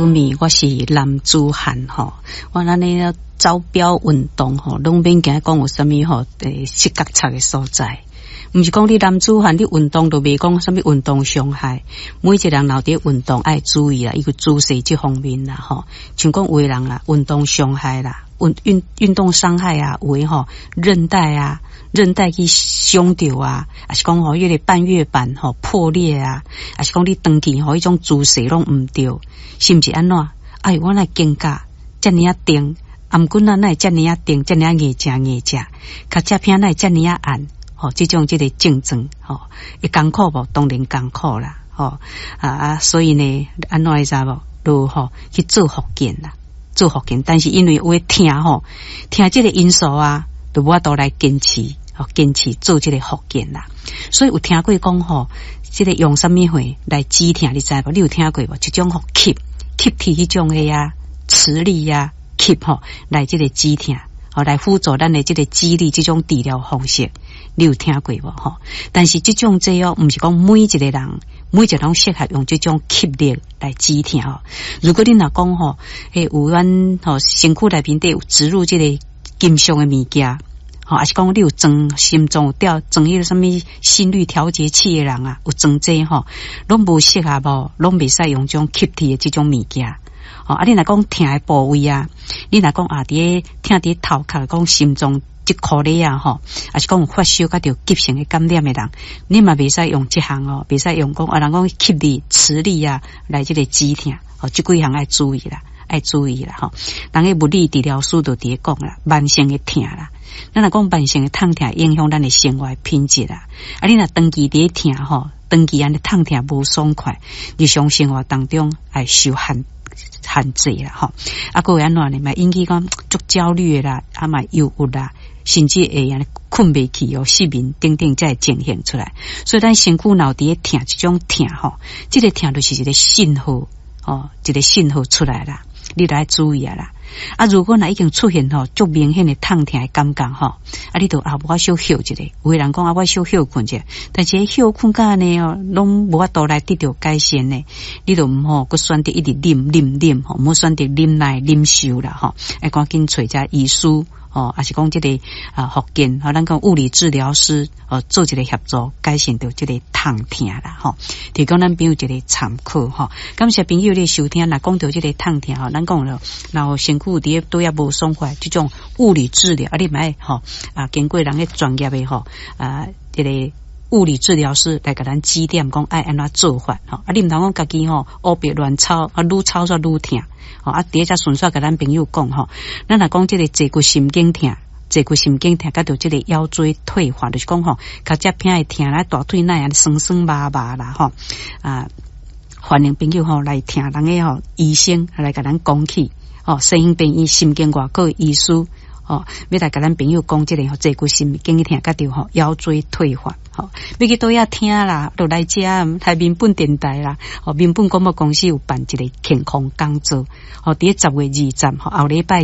米，我是男子漢吼。我咱呢走標運動吼，攏免驚講有啥物吼，失覺察的所在。毋是講你男子漢你運動就袂講啥物運動傷害。每一個人若佇運動愛注意啦，伊個姿勢這方面啦吼。像講有的人啦，運動傷害啦，運動傷害啊，有的吼韌帶啊，韌帶去傷著啊，抑是講吼，彼個半月板吼破裂啊，抑是講你長期吼彼種姿勢攏毋對，是毋是按怎？哎，我若肩胛遮爾仔重，啊毋過哪會遮爾仔重，遮爾仔硬正硬正，跤脊片哪會遮爾仔按？吼，這種這個症狀吼，會艱苦無？當然艱苦啦，吼啊！所以呢，按怎你知無？就吼去做復健啦，做復健。但是因為有會疼吼，疼這個因素啊，就無法度來堅持，吼，堅持做這個復健啦。所以有聽過講吼，這個用啥物貨來止疼？你知無？你有聽過無？一種吼吸吸鐵彼種的啊，磁力啊，吸吼來這個止疼，吼來輔助咱的這個肌力這種治療方式。你有聽過無？吼，但是這種這哦，毋是講每一個人，每一個人適合用這種吸力來止疼吼。如果你若講吼，欸，有阮吼身軀內面底有植入這個金屬的物件，吼，抑是講你有裝心臟有吊裝彼個啥物心率調節器的人啊，有裝這吼，攏無適合無，攏袂使用這種吸鐵的這種物件。吼，啊，你若講疼的部位啊，你若講啊，佇咧疼佇頭殼，講心臟這箍咧啊吼，抑是講有發燒佮著急性的感染的人，你嘛袂使用這項哦，袂使用講啊，人講吸力、磁力啊來這個止疼，吼，這幾項愛注意啦，愛注意啦吼。人的物理治療師就佇咧講啦，慢性的疼啦，咱若講慢性的痛疼影響咱的生活品質啦。啊，你若長期佇咧疼吼，長期按呢痛疼無爽快，日常生活當中愛受限制啦吼。啊，閣會按怎呢？嘛引起講足焦慮的啦，啊嘛憂鬱啦。甚至會按呢睏袂去哦，失眠等等，才會呈現出來。所以咱身軀若有佇咧疼這種疼吼，這個疼就是一個信號哦，一個信號出來啦，你著愛注意啊啦。啊，如果若已經出現吼足明顯的痛疼的感覺吼，啊，你著啊無法小歇一下。有的人講啊，我小歇睏者，但是歇睏甲按呢哦，攏無法度來得著改善呢。你著毋好閣選擇一直忍忍忍吼，毋好選擇忍耐忍受啦吼，愛趕緊揣遮醫師。哦，抑是講這個啊，復健，吼，咱講物理治療師哦，做一個協助，改善著這個痛疼啦，吼，提供咱朋友一個參考吼。感謝朋友的收聽，若講著這個痛疼吼，咱講了，若身軀佇咧佗位無爽快，這種物理治療啊，你嘛愛吼啊，經過人的專業的吼啊，這個物理治療師來共咱指點，講愛按怎做法吼。啊，你毋通講家己吼，烏白亂操，啊，愈操煞愈疼。吼啊，佇遮順紲共咱朋友講吼，咱若講這個坐骨神經疼，坐骨神經疼，佮著這個腰椎退化，就是講吼，跤脊片會疼啦，大腿哪會按呢酸酸麻麻啦吼啊，歡迎朋友吼來聽人的吼醫生來共咱講起吼，西興病院神經外科醫師吼，欲來共咱朋友講這個吼坐骨神經疼，佮著吼腰椎退化。吼，欲去佗位聽啦，就來遮台民本電台啦。吼，民本廣播公司有辦一個健康講座，吼，佇咧10月20，吼，後禮拜。